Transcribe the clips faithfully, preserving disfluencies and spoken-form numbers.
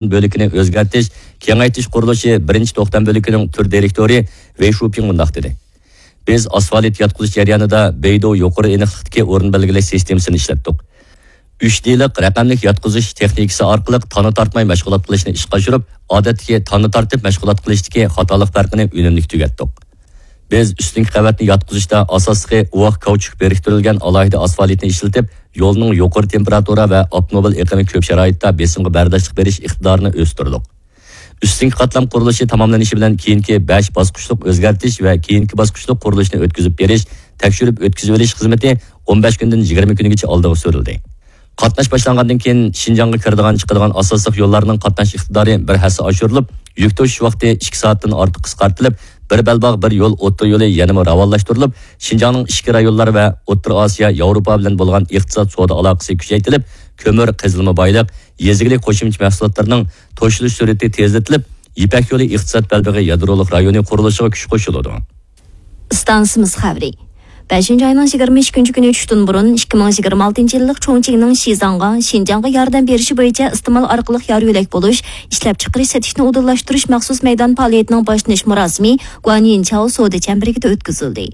بۆلىكىنى ئۆزگەرتىش، كېڭەيتىش قۇرۇلۇشى بىرىنچى توختام بۆلىكىنىڭ تۈر دىرېكتورى ۋېي شۇپىڭ مۇنداق دېدى: بىز ئاسفالت ياتقۇزۇش جەريانىدا بەيدۇ يۇقىرى ئېنىقلىقتىكى ئورۇن بەلگىلەش سىستېمىسىنى ئىشلەتتۇق. ئۈچ دېلىق رەقەملىك ياتقۇزۇش تېخنىكىسى ئارقىلىق تانا تارتماي مەشغۇلات قىلىشنى ئىشقا ئاشۇرۇپ، ئادەتتىكى تانا تارتىپ مەشغۇلات قىلىشتىكى خاتالىق پەرقىنى ئۈنۈملۈك تۈگەتتۇق. بىز ئۈستۈنكى قەۋەتنى ياتقۇزۇشتا ئاساسلىقى ئۇۋاق كاۋچۇك بىرىكتۈرۈلگەن ئالاھىدە ئاسفالتنى ئىشلىتىپ، يولنىڭ يۇقىرى تېمپېراتۇرا ۋە ئاپتوموبىل ئېقىمى كۆپ شارائىتتا بېسىمغا بەرداشلىق بېرىش ئىقتىدارىنى ئۆستۈردۇق. ئۈستۈنكى قاتلام قۇرۇلۇشى تاماملىنىشى بىلەن كېيىنكى بەش باسقۇچلۇق ئۆزگەرتىش ۋە كېيىنكى باسقۇچلۇق قۇرۇلۇشنى ئۆتكۈزۈپ بېرىش، تەكشۈرۈپ ئۆتكۈزۈۋېلىش خىزمىتى ئون بەش كۈندىن يىگىرمە كۈنگىچە ئالدىغا سۈرۈلدى. قاتناش باشلانغاندىن كېيىن، شىنجاڭغا كىرىدىغان، چىقىدىغان ئاساسلىق يوللارنىڭ قاتناش ئىقتىدارى بىر ھەسسە ئاشۇرۇلۇپ، يۈك توشۇش ۋاقتى ئىككى سائەتتىن ئارتۇق قىسقارتىلىپ، بىر بەلباغ، بىر يول ئوتتۇرا يولى يەنىمۇ راۋانلاشتۇرۇلۇپ، شىنجاڭنىڭ ئىچكى رايونلار ۋە ئوتتۇرا ئاسىيا، ياۋروپا بىلەن بولغان ئىقتىساد سودا ئالاقىسى كۈچەيتىلىپ، كۆمۈر، قېزىلما بايلىق، يېزا ئىگىلىك قوشۇمچە مەھسۇلاتلىرىنىڭ توشۇلۇش سۈرئىتى تېزلىتىلىپ، يىپەك يولى ئىقتىساد بەلبېغى يادرولۇق رايونى قۇرۇلۇشىغا كۈچ قوشۇلىدۇ. ئىستانسىمىز خەۋىرى. بەشىنچى ئاينىڭ يىگىرمە ئىككىنچى كۈنى چۈشتىن بۇرۇن، ئىككى مىڭ يىگىرمە ئالتىنچى يىللىق چۇڭچىڭنىڭ شىزاڭغا، شىنجاڭغا ياردەم بېرىشى بويىچە ئىستېمال ئارقىلىق يار يۆلەك بولۇش، ئىشلەپچىقىرىش، سېتىشنى ئۇدۇللاشتۇرۇش مەخسۇس مەيدان پائالىيىتىنىڭ باشلىنىش مۇراسىمى گۇەنيىنچاۋ سودا چەمبىرىكىدە ئۆتكۈزۈلدى.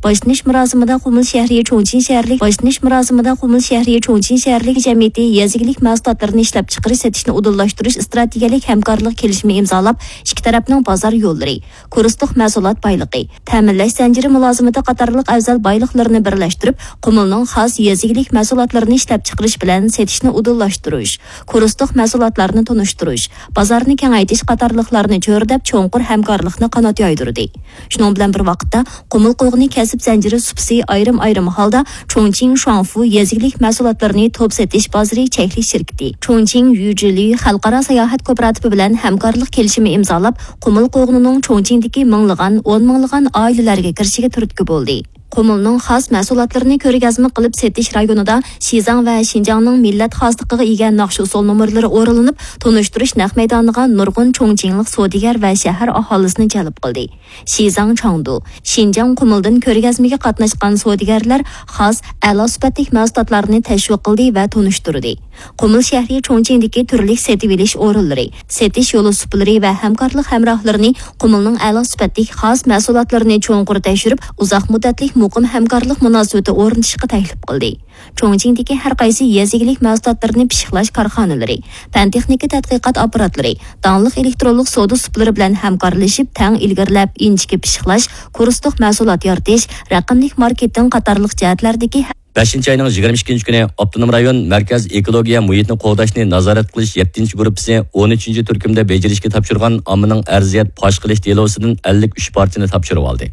باشلىنىش مۇراسىمىدا قۇمۇل شەھىرى چۇڭچىڭ شەھەرلىك، باشلىنىش مۇراسىمىدا قۇمۇل شەھىرى چۇڭچىڭ شەھەرلىك جەمئىيىتى يېزا ئىگىلىك مەھسۇلاتلىرىنى ئىشلەپچىقىرىش، سېتىشنى ئۇدۇللاشتۇرۇش ئىستراتېگىيەلىك ھەمكارلىق كېلىشىمى ئىمزالاپ، ئىككى تەرەپنىڭ بازار يوللىرى، كۇرسلۇق مەھسۇلات بايلىقى، تەمىنلەش زەنجىرى مۇلازىمىتى قاتارلىق ئەۋزەل بايلىقلىرىنى بىرلەشتۈرۈپ، قۇمۇلنىڭ خاس يېزا ئىگىلىك مەھسۇلاتلىرىنى ئىشلەپچىقىرىش بىلەن سېتىشنى ئۇدۇللاشتۇرۇش، كۇرسلۇق مەھسۇلاتلارنى تونۇشتۇرۇش، بازارنى كېڭەيتىش قاتارلىقلارنى چۆرىدەپ، چوڭقۇر ھەمكارلىقنى قانات يايدۇردى. شۇنىڭ بىلەن بىر ۋاقىتتا، قۇمۇل قوغۇنى كەسىپ زەنجىرى سۇپىسى ئايرىم-ئايرىم ھالدا چۇڭچىڭ شۇاڭفۇ يېزا ئىگىلىك مەھسۇلاتلىرىنى توپ سېتىش بازىرى چەكلىك شىركىتى، چۇڭچىڭ يۈجۈلۈ خەلقئارا ساياھەت كوپىراتىپى بىلەن ھەمكارلىق كېلىشىمى ئىمزالاپ، قۇمۇل قوغۇنىنىڭ چۇڭچىڭدىكى مىڭلىغان، ئون مىڭلىغان ئائىلىلەرگە كىرىشىگە تۈرتكە بولدى. قۇمۇلنىڭ خاس مەھسۇلاتلىرىنى كۆرگەزمە قىلىپ سېتىش رايونىدا شىزاڭ ۋە شىنجاڭنىڭ مىللەت خاسلىقىغا ئىگە ناخشا-ئۇسسۇل نومۇرلىرى ئورۇنلىنىپ، تونۇشتۇرۇش نەق مەيدانىغا نۇرغۇن چۇڭچىڭلىق سودىگەر ۋە شەھەر ئاھالىسىنى جەلپ قىلدى. شىزاڭ چاڭدۇ، شىنجاڭ قۇمۇلدىن كۆرگەزمىگە قاتناشقان سودىگەرلەر خاس، ئەلا سۈپەتلىك مەھسۇلاتلارنى تەشۋىق قىلدى ۋە تونۇشتۇردى. قۇمۇل شەھىرى چۇڭچىڭدىكى تۈرلۈك سېتىۋېلىش ئورۇنلىرى، سېتىش يولى سۇپىلىرى ۋە ھەمكارلىق ھەمراھلىرىنى قۇمۇلنىڭ ئەلا سۈپەتلىك خاس مەھسۇلاتلىرىنى چوڭقۇر تەكشۈرۈپ، ئۇزاق مۇددەتلىك مۇقىم ھەمكارلىق مۇناسىۋىتى ئورنىتىشقا تەكلىپ قىلدى. چۇڭچىڭدىكى ھەر قايسى يېزا ئىگىلىك مەھسۇلاتلىرىنى پىششىقلاش كارخانىلىرى، پەن-تېخنىكا تەتقىقات ئاپپاراتلىرى، داڭلىق ئېلېكترونلۇق سودا سۇپىلىرى بىلەن ھەمكارلىشىپ، تەڭ ئىلگىرىلەپ، ئىنچىكە پىششىقلاش، كۇرسلۇق مەھسۇلات يارىتىش، رەقەملىك ماركېتىڭ قاتارلىق جەھەتلەردىكى بەشىنچى ئاينىڭ يىگىرمە ئىككىنچى كۈنى ئاپتونوم رايون مەركەز ئېكولوگىيە مۇھىتنى قوغداشنى نازارەت قىلىش يەتتىنچى گۇرۇپپىسى ئون ئۈچىنچى تۈركۈمدە بېجىرىشكە تاپشۇرغان ئاممىنىڭ ئەرزىيەت پاش قىلىش دېلوسىدىن ئەللىك ئۈچ پارچىنى تاپشۇرۇۋالدى.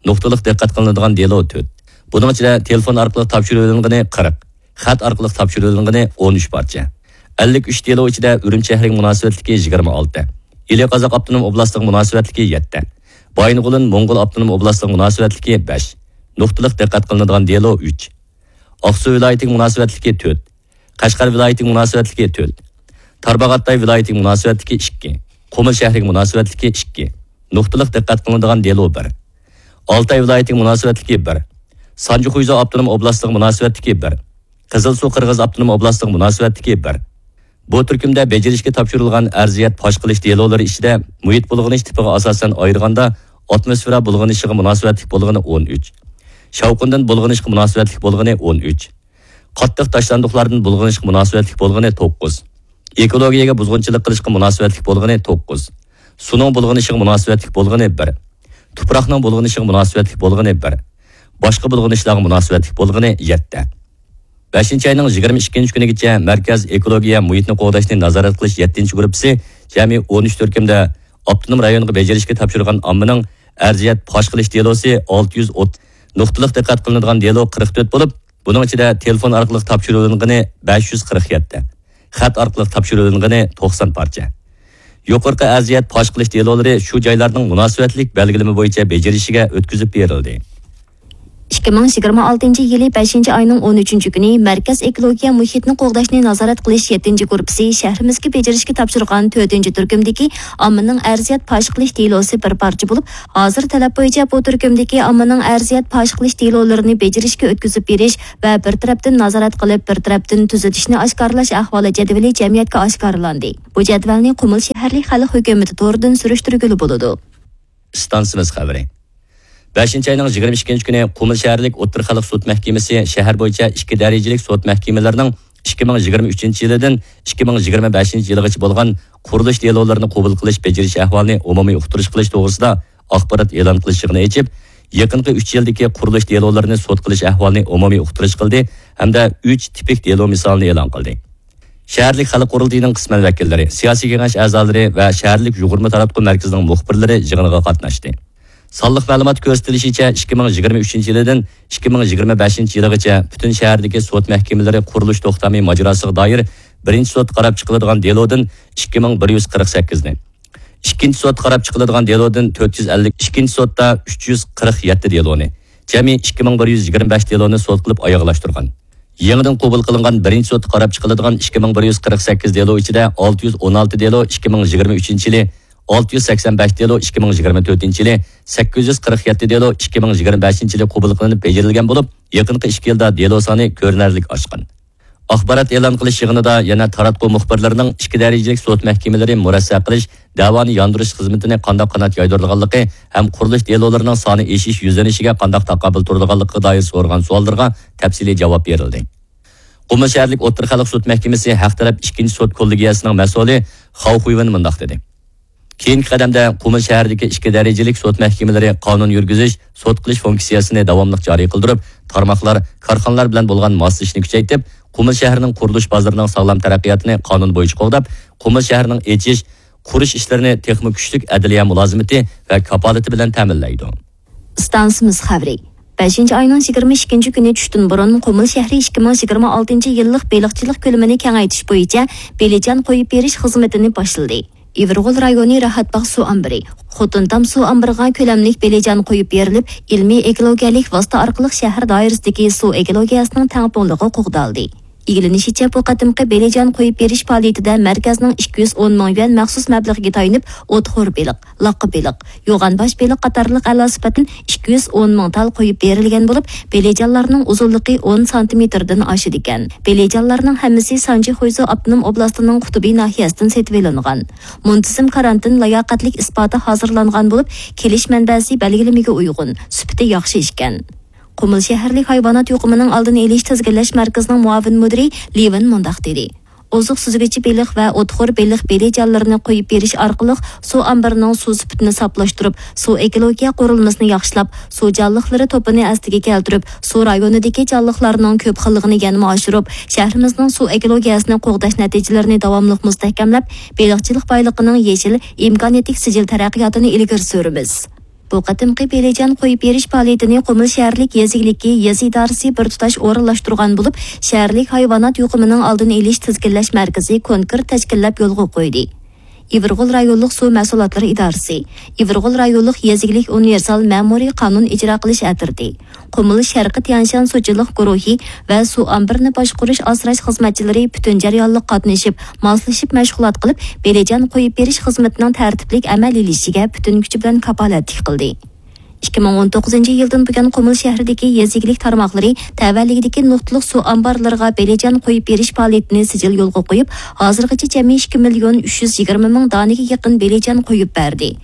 نۇقتىلىق دىققەت قىلىنىدىغان دېلو تۆت. بۇنىڭ ئىچىدە تېلېفون ئارقىلىق تاپشۇرۇۋېلىنغىنى قىرىق، خەت ئارقىلىق تاپشۇرۇۋېلىنغىنى ئون ئۈچ پارچە. ئەللىك ئۈچ دېلو ئىچىدە ئۈرۈمچى شەھىرىگە مۇناسىۋەتلىكى يىگىرمە ئالتە، ئىلى قازاق ئاپتونوم ئوبلاستىغا مۇناسىۋەتلىكى يەتتە، بايىنغولىن موڭغۇل ئاپتونوم ئوبلاستىغا مۇناسىۋەتلىكى بەش، نۇقتىلىق دىققەت قىلىنىدىغان دېلو ئۈچ، ئاقسۇ ۋىلايىتىگە مۇناسىۋەتلىكى تۆت، قەشقەر ۋىلايىتىگە مۇناسىۋەتلىكى تۆت، تارباغاتاي ۋىلايىتىگە مۇناسىۋەتلىكى ئىككى، قۇمۇل شەھىرىگە مۇناسىۋەتلىكى ئىككى، نۇقتىلىق دىققەت قىلىنىدىغان دېلو بىر، ئالتاي ۋىلايىتىگە مۇناسىۋەتلىكى بىر، سانجى خۇيزۇ ئاپتونوم ئوبلاستىغا مۇناسىۋەتلىكى بىر، قىزىلسۇ قىرغىز ئاپتونوم ئوبلاستىغا مۇناسىۋەتلىكى بىر. بۇ تۈركۈمدە بېجىرىشكە تاپشۇرۇلغان ئەرزىيەت پاش قىلىش دېلولىرى ئىچىدە مۇھىت بۇلغىنىش تىپىغا ئاساسەن ئايرىغاندا، ئاتموسفېرا بۇلغىنىشىغا مۇناسىۋەتلىك بولغىنى ئون ئۈچ، شاۋقۇندىن بۇلغىنىشقا مۇناسىۋەتلىك بولغىنى ئون ئۈچ، قاتتىق تاشلاندۇقلاردىن بۇلغىنىشقا مۇناسىۋەتلىك بولغىنى توققۇز، ئېكولوگىيەگە بۇزغۇنچىلىق قىلىشقا مۇناسىۋەتلىك بولغىنى توققۇز، سۇنىڭ بۇلغىنىشىغا مۇناسىۋەتلىك بولغىنى بىر، تۇپراقنىڭ بۇلغىنىشىغا مۇناسىۋەتلىك بولغىنى بىر، باشقا بۇلغىنىشلارغا مۇناسىۋەتلىك بولغىنى يەتتە. بەشىنچى ئاينىڭ يىگىرمە ئىككىنچى كۈنىگىچە مەركەز ئېكولوگىيە مۇھىتنى قوغداشنى نازارەت قىلىش يەتتىنچى گۇرۇپپىسى جەمئىي ئون ئۈچ تۈركۈمدە ئاپتونوم رايونغا بېجىرىشكە تاپشۇرغان ئاممىنىڭ ئەرزىيەت پاش قىلىش دېلوسى ئالتە يۈز ئوتتۇز، نۇقتىلىق دىققەت قىلىنىدىغان دېلو قىرىق تۆت بولۇپ، بۇنىڭ ئىچىدە تېلېفون ئارقىلىق تاپشۇرۇۋېلىنغىنى بەش يۈز قىرىق يەتتە، خەت ئارقىلىق تاپشۇرۇۋېلىنغىنى توقسان پارچە. يۇقىرىقى ئەرزىيەت پاش قىلىش دېلولىرى شۇ جايلارنىڭ مۇناسىۋەتلىك بەلگىلىمە بويىچە بېجىرىشىگە ئۆتكۈزۈپ بېرىلدى. ئىككى مىڭ يىگىرمە ئالتىنچى يىلى بەشىنچى ئاينىڭ ئون ئۈچىنچى كۈنى مەركەز ئېكولوگىيە مۇھىتنى قوغداشنى نازارەت قىلىش يەتتىنچى گۇرۇپپىسى شەھىرىمىزگە بېجىرىشكە تاپشۇرغان تۆتىنچى تۈركۈمدىكى ئاممىنىڭ ئەرزىيەت پاش قىلىش دېلوسى بىر پارچە بولۇپ، ھازىر تەلەپ بويىچە بۇ تۈركۈمدىكى ئاممىنىڭ ئەرزىيەت پاش قىلىش دېلولىرىنى بېجىرىشكە ئۆتكۈزۈپ بېرىش ۋە بىر تەرەپتىن نازارەت قىلىپ، بىر تەرەپتىن تۈزىتىشنى ئاشكارىلاش ئەھۋالى جەدۋىلى جەمئىيەتكە ئاشكارىلاندى. بۇ جەدۋەلنى قۇمۇل شەھەرلىك خەلق ھۆكۈمىتى تورىدىن سۈرۈشتۈرگىلى بولىدۇ. ئىستانسىمىز خەۋىرى. بەشىنچى ئاينىڭ يىگىرمە ئىككىنچى كۈنى قۇمۇل شەھەرلىك ئوتتۇرا خەلق سوت مەھكىمىسى شەھەر بويىچە ئىككى دەرىجىلىك سوت مەھكىمىلىرىنىڭ ئىككى مىڭ يىگىرمە ئۈچىنچى يىلىدىن ئىككى مىڭ يىگىرمە بەشىنچى يىلىغىچە بولغان قۇرۇلۇش دېلولىرىنى قوبۇل قىلىش بېجىرىش ئەھۋالىنى ئومۇمىي ئۇقتۇرۇش قىلىش توغرىسىدا ئاخبارات ئېلان قىلىش يىغىنى ئېچىپ، يېقىنقى ئۈچ يىلدىكى قۇرۇلۇش دېلولىرىنى سوت قىلىش ئەھۋالىنى ئومۇمىي ئۇقتۇرۇش قىلدى ھەمدە ئۈچ تىپىك دېلو مىسالىنى ئېلان قىلدى. شەھەرلىك خەلق قۇرۇلتىيىنىڭ قىسمەن ۋەكىللىرى، سىياسىي كېڭەش ئەزالىرى ۋە شەھەرلىك يۇغۇرما تاراتقۇ مەركىزىنىڭ مۇخبىرلىرى يىغىنغا قاتناشتى. سانلىق مەلۇمات كۆرسىتىلىشىچە، ئىككى مىڭ يىگىرمە ئۈچىنچى يىلىدىن ئىككى مىڭ يىگىرمە بەشىنچى يىلىغىچە پۈتۈن شەھەردىكى سوت مەھكىمىلىرى قۇرۇلۇش توختامى ماجىراسىغا دائىر بىرىنچى سوتتا قاراپ چىقىلىدىغان دېلودىن ئىككى مىڭ بىر يۈز قىرىق سەككىزنى، ئىككىنچى سوتتا قاراپ چىقىلىدىغان دېلودىن تۆت يۈز ئەللىك، ئىككىنچى سوتتا ئۈچ يۈز قىرىق يەتتە دېلونى، جەمئىي ئىككى مىڭ بىر يۈز يىگىرمە بەش دېلونى سوت قىلىپ ئاياغلاشتۇرغان. يېڭىدىن قوبۇل قىلىنغان بىرىنچى سوتتا قاراپ چىقىلىدىغان ئىككى مىڭ بىر يۈز قىرىق سەككىز دېلو ئىچىدە ئالتە يۈز ئون ئالتە دېلو ئىككى مىڭ يىگىرمە ئۈچىنچى يىلى، ئالتە يۈز سەكسەن بەش دېلو ئىككى مىڭ يىگىرمە تۆتىنچى يىلى، سەككىز يۈز قىرىق يەتتە دېلو ئىككى مىڭ يىگىرمە بەشىنچى يىلى قوبۇل قىلىنىپ بېجىرىلگەن بولۇپ، يېقىنقى ئىككى يىلدا دېلو سانى كۆرۈنەرلىك ئاشقان. ئاخبارات ئېلان قىلىش يىغىنىدا يەنە تاراتقۇ مۇخبىرلىرىنىڭ ئىككى دەرىجىلىك سوت مەھكىمىلىرى مۇرەسسە قىلىش، دەۋانى ياندۇرۇش خىزمىتىنى قانداق قانات يايدۇرىدىغانلىقى ھەم قۇرۇلۇش دېلولىرىنىڭ سانى ئېشىش يۈزلىنىشىگە قانداق تاقابىل تۇرىدىغانلىقىغا دائىر سورىغان سوئاللىرىغا تەپسىلىي جاۋاب بېرىلدى. قۇمۇل شەھەرلىك ئوتتۇرا خەلق سوت مەھكىمىسى ھەق تەرەپ ئىككىنچى سوت كوللېگىيەسىنىڭ مەسئۇلى خاۋ خۇيۋېن مۇنداق دېدى. كېيىنكى قەدەمدە قۇمۇل شەھىرىدىكى ئىككى دەرىجىلىك سوت مەھكىمىلىرى قانۇن يۈرگۈزۈش، سوت قىلىش فۇنكسىيەسىنى داۋاملىق جارى قىلدۇرۇپ، تارماقلار، كارخانىلار بىلەن بولغان ماسلىشىشنى كۈچەيتىپ، قۇمۇل شەھىرىنىڭ قۇرۇلۇش بازىرىنىڭ ساغلام تەرەققىياتىنى قانۇن بويىچە قوغداپ، قۇمۇل شەھىرىنىڭ ئېچىش، قۇرۇش ئىشلىرىنى تېخىمۇ كۈچلۈك ئەدلىيە مۇلازىمىتى ۋە كاپالىتى بىلەن تەمىنلەيدۇ. ئىستانسىمىز خەۋىرى. بەشىنچى ئاينىڭ يىگىرمە ئىككىنچى كۈنى چۈشتىن بۇرۇن قۇمۇل شەھىرى ئىككى مىڭ يىگىرمە ئالتىنچى يىللىق بېلىقچىلىق كۆلىمىنى كېڭەيتىش بويىچە بېلىجان قويۇپ بېرىش خىزمىتىنى باشلىدى. ئىۋىرغول رايونى راھەتباغ سۇ ئامبىرى، خوتۇنتام سۇ ئامبىرىغا كۆلەملىك بېلىجان قويۇپ بېرىلىپ، ئىلمىي ئېكولوگىيەلىك ۋاسىتە ئارقىلىق شەھەر دائىرىسىدىكى سۇ ئېكولوگىيەسىنىڭ تەڭپۇڭلۇقى قوغدالدى. ئىگىلىنىشىچە، بۇ قېتىمقى بېلىجان قويۇپ بېرىش پائالىيىتىدە مەركەزنىڭ ئىككى يۈز ئون مىڭ يۈەن مەخسۇس مەبلىغىگە تايىنىپ، ئوتخور بېلىق، لاققا بېلىق، يوغان باش بېلىق قاتارلىق ئەلا سۈپەتتىن ئىككى يۈز ئون مىڭ تال قويۇپ بېرىلگەن بولۇپ، بېلىجانلارنىڭ ئۇزۇنلۇقى ئون سانتىمېتىردىن ئاشىدىكەن. بېلىجانلارنىڭ ھەممىسى سانجى خۇيزۇ ئاپتونوم ئوبلاستىنىڭ قۇتۇبى ناھىيەسىدىن سېتىۋېلىنغان. مۇنتىزىم كارانتىن لاياقەتلىك ئىسپاتى ھازىرلانغان بولۇپ، كېلىش مەنبەسى بەلگىلىمىگە ئۇيغۇن، سۈپىتى ياخشى ئىكەن. قۇمۇل شەھەرلىك ھايۋانات يۇقۇمىنىڭ ئالدىنى ئېلىش تىزگىنلەش مەركىزىنىڭ مۇئاۋىن مۇدىرى لىۋېن مۇنداق دېدى: ئوزۇق سۈزگۈچى بېلىق ۋە ئوتخور بېلىق بېلىجانلىرىنى قويۇپ بېرىش ئارقىلىق سۇ ئامبىرىنىڭ سۇ سۈپىتىنى ساپلاشتۇرۇپ، سۇ ئېكولوگىيە قۇرۇلمىسىنى ياخشىلاپ، سۇ جانلىقلىرى توپىنى ئەسلىگە كەلتۈرۈپ، سۇ رايونىدىكى جانلىقلارنىڭ كۆپ خىللىقىنى يەنىمۇ ئاشۇرۇپ، شەھىرىمىزنىڭ سۇ ئېكولوگىيەسىنى قوغداش نەتىجىلىرىنى داۋاملىق مۇستەھكەملەپ، بېلىقچىلىق بايلىقىنىڭ يېشىل، ئىمكانىيەتلىك سىجىل تەرەققىياتىنى ئىلگىرى سۈرىمىز. بۇ قېتىمقى بېلىجان قويۇپ بېرىش پائالىيىتىنى قۇمۇل شەھەرلىك يېزا ئىگىلىكى يېزا ئىدارىسى بىر تۇتاش ئورۇنلاشتۇرغان بولۇپ، شەھەرلىك ھايۋانات يۇقۇمىنىڭ ئالدىنى ئېلىش تىزگىنلەش مەركىزى كونكرېت تەشكىللەپ يولغا قويدى. ئىۋىرغول رايونلۇق سۇ مەھسۇلاتلىرى ئىدارىسى، ئىۋىرغول رايونلۇق يېزا ئىگىلىك ئۇنىۋېرسال مەمۇرىي قانۇن ئىجرا قىلىش ئەترىتى، قۇمۇل شەرقىي تيەنشان سۇچىلىق گۇرۇھى ۋە سۇ ئامبىرىنى باشقۇرۇش ئاسراش خىزمەتچىلىرى پۈتۈن جەريانلىق قاتنىشىپ، ماسلىشىپ مەشغۇلات قىلىپ، بېلىجان قويۇپ بېرىش خىزمىتىنىڭ تەرتىپلىك ئەمەلىيلىشىشىگە پۈتۈن كۈچى بىلەن كاپالەتلىك قىلدى. ئىككى مىڭ ئون توققۇزىنچى يىلدىن بۇيان قۇمۇل شەھىرىدىكى يېزا ئىگىلىك تارماقلىرى تەۋەلىكىدىكى نۇقتىلىق سۇ ئامبارلىرىغا بېلىجان قويۇپ بېرىش پائالىيىتىنى سىجىل يولغا قويۇپ، ھازىرغىچە جەمئىي ئىككى مىليون ئۈچ يۈز يىگىرمە مىڭ دانىگە يېقىن بېلىجان قويۇپ بەردى.